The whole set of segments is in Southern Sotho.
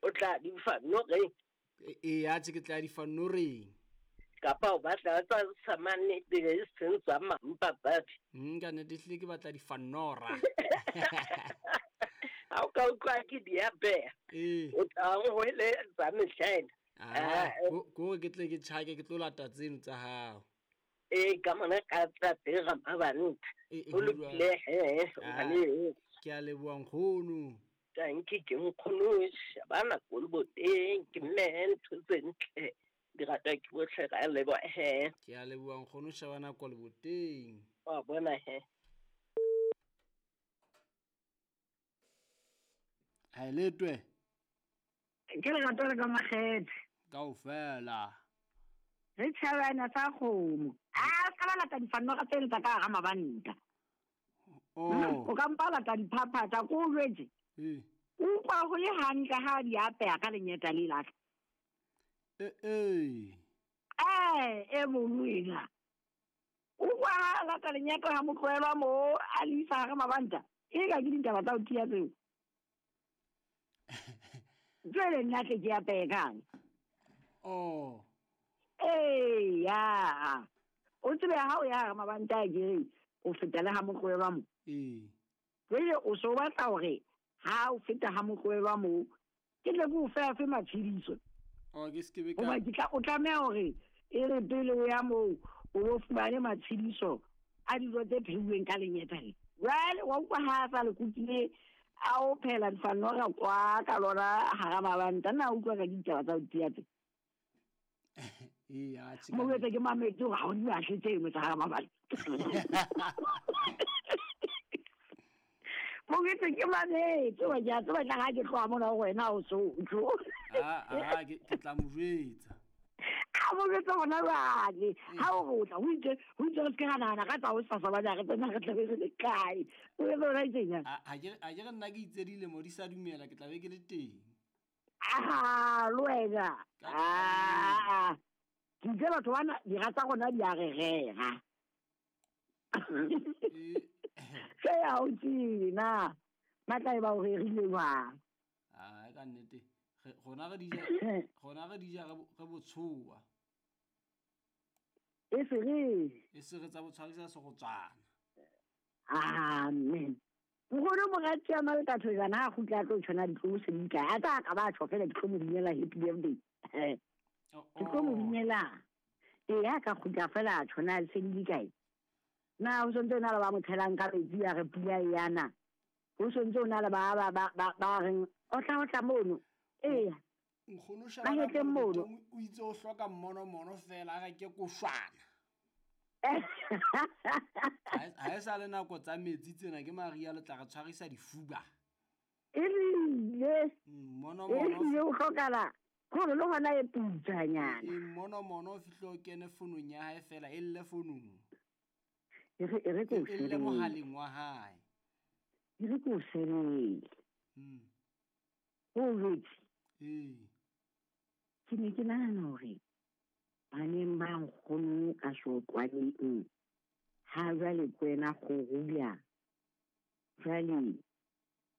O tla di fa noreng. Ee, atjhe ke tla di fa noreng. Kapa o batla tsa samane e seng tsa mampapadi. Ka nnete ehlile ke batla difanora. Ha o ka utlwa ke di apeha. Ee. O tla hweletsa mehlaena. Ah, ko ke tle ke tjhake ke tlo lata tseno tsa hao. Ee, ka mona ka tla tera mabanta. O lokile he, ngwane. Ke a leboha nkgono. Tanki ke nkgono Shabana Koloboteng ke mme ntho tse ntle. Di ratwa ke bohle ra leboha he. Ke a leboha nkgono Shabana Koloboteng. Wa bona he. Ha e letwe. Ke lerato le ka makgethe. Kaofela. Re tjhabana sa kgomo. A ska ba lata difanora tseno tsa ka hara mabanta. Oh. O ka mpa lata diphaphatha ko o jwetse. Ee. O utlwa ho le hantle ha di apeha ka lenyeta le la. Ee. E mong wena. O utlwa ha lata lenyeta ha motlohelwa mo a le isa hara mabanta. E ka ke ditaba tsa ho tiya tseo. Jwale nna tle ke apehe kang? Oh. Ee, ya. O tsebe ha o ya hara mabanta a kere o feta le ha motlohelwa mo. Ee. Jwale o so batla hore ha o feta ha motlohelwa mo ke tle ke o fe afe matshediso. Oh, ke se ke be ka. Hoba ke tla o tlameha hore e re pele o ya moo o bo fumane matshediso a dijo tse pheuweng ka lenyeta le. Jwale wa utlwa ha a sa le kukile a o phela difanora kwa ka lona hara mabanta na utlwa ka ditaba tsa ho tiya tse. Ee, atjhe. Mo jwetse ke mametse hore ha o di batle tseno tsa hara mabanta. Mo jwetse ke mametse hoba ke a tseba tla ha ke tloha mona ho wena o so tlo. Ah, ke tla mo jwetsa. A mo jwetse hona jwale. Ha o re o tla ho itse re se ke ra nahana ka tsa hosasa bana re tsena re tlabe re le kae. O etse hona tjena. Ha ke re nna ke itse dilemo di sa dumela ke tla be ke le teng. Ah, le wena. Ah. Ke itse batho bana dira tsa rona di a re rera. Se ya o tjena. Ba tla e ba o rerile jwang? Ah, ka nnete. Rona re di ja re botshoa. E se re tsa botshwarisa se go tswana. Amen. Nkgono morati ya Maleka Thojana ha kgutla a tlo tshwana ditlo se di kae. A tla ka ba tjho fela ke tlo mo binela happy birthday. Ke tlo mo binela. Ee, ha ka kgutla fela a tshwana se di kae. Na o sontse o na le ba mo tshelang ka metsi a re pula e yana. O sontse o na le ba ba reng o tla mono. Ee. Nkgono Shabana o itse o hloka mmonomono fela a re ke koshwana. Ha e sa le nako tsa metsi tsena ke Maria le tla re tshwarisa difuba. E rile. Mmonomono. E o hlokala gore le hona e putsanyana. Mmonomono o fihle o kene fonong ya hae fela e lle fonong. E re ko e lle mohaleng wa hae. E re ko sebele. O jwetse. Ee. Ke ne ke nahana hore baneng ba nkgono ka sotlwaneng ha jwale ke wena kgorula. Jwale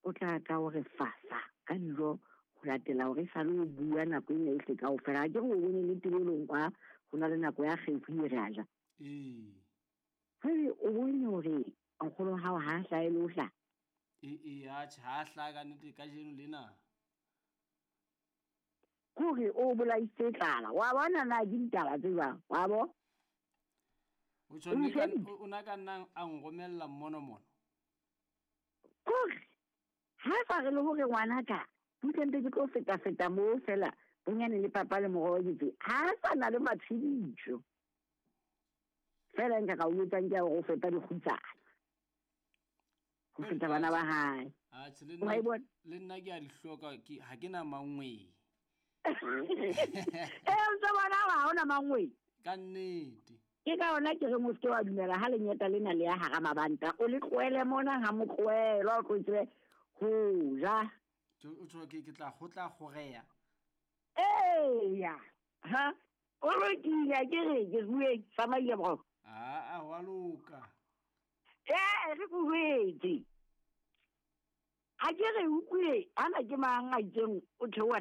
o tla ka o re fasa ka dijo ho latela hore e sale o bua nako ena yohle kaofela. Ha ke re o bone le tebelong kwa ho na le nako ya kgefu e re a ja. Ee. Jwale o bone hore nkgono hao ha hlahe le ho hlaha. Ee, atjhe ha hlaha ka nnete kajeno lena. Kore o bolaisitse tlala. Wa bona na ke ditaba tse jwang? Wa bo? O tjho o na ka nna a nromella mmonomono. Kore ha sa re le hore ngwana ka butle mpe ke tlo feta moo fela bonyane le papa le moroho ke tse. Ha sa na le matshediso. Fela nka ka o etsang ke hore o feta dikgutsana. Ho feta bana ba hae. Atjhe le nna ke a di hloka ke ha ke na mangwe. E ntse bona ha hona mangwe. Ka nnete. Ke ka hona ke re mo se wa dumela ha lenyeta lena le ya hara mabanta. O le tlohele mona ha motlohelo o tlo tsebe ho ja. O tjho ke tla ho tla kgoreya. Eya. Ha? O lokile ke re ke bue tsamaile bro. Ah, wa loka. Ee, re go jwetse. Ha ke re utlwe ana ke mang a itseng o theoha